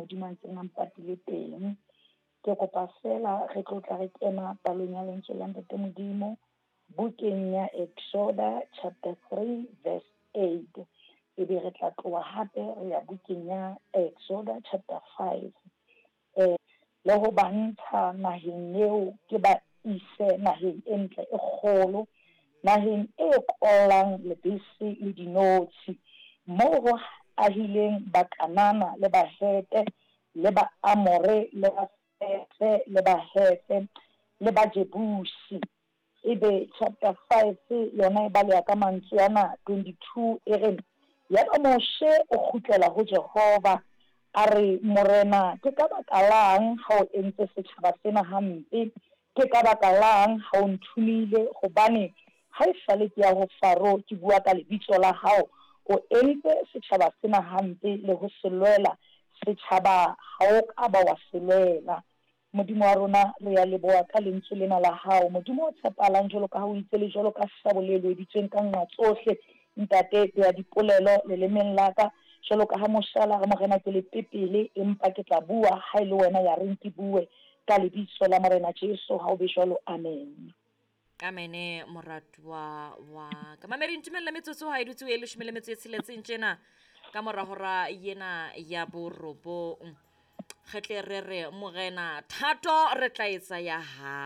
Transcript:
Modimo a ntseng a mpatile teng. Ke kopa feela re tlo tla re kena palong ya lentswe la Ntate Modimo bukeng ya Exoda chapter 3 verse 8. Ebe re tla tloha hape re ya bukeng ya Exoda chapter 5. Le ho ba ntsha naheng eo ke ba ise naheng e ntle e kgolo, naheng e kollang lebese le dinotshi, moo ho ahileng Bakanana le Bahete le Baamore le Baferese le Bahefe le Bajebusi. Ebe chapter 5 yona e baleha ka mantswe ana 22 e re, Yaba Moshe o kgutlela ho Jehova, a re, Morena, ke ka baka lang ha o entse setjhaba sena hampe? Ke ka baka lang ha o nthomile? Hobane ha esale ke ya ho Faro ke bua ka lebitso la hao, o entse setjhaba sena hampe le ho se lwela, setjhaba ha o ka ba wa se lwela. Modimo wa rona, re a leboha ka Lentswe lena la Hao. Modimo o tshepahalang jwalo ka ha o itse le jwalo ka sabole e loeditsweng ka nqa tsohle. Ntate, bea dipolelo lelemeng la ka, jwalo ka ha Moshe a la re, Morena, ke lepepele, empa ke tla bua ha e le Wena ya reng ke bue. Ka Lebitso la Morena Jesu, ha ho be jwalo. Amen. Amene, moratuwa wa ka. Mamedi, ntumelle metsotso ha e dutse e leshome le metso e tsheletseng tjena ka mora hora yena ya borobong. Re tle re re, Morena, thato re tla etsa ya hao.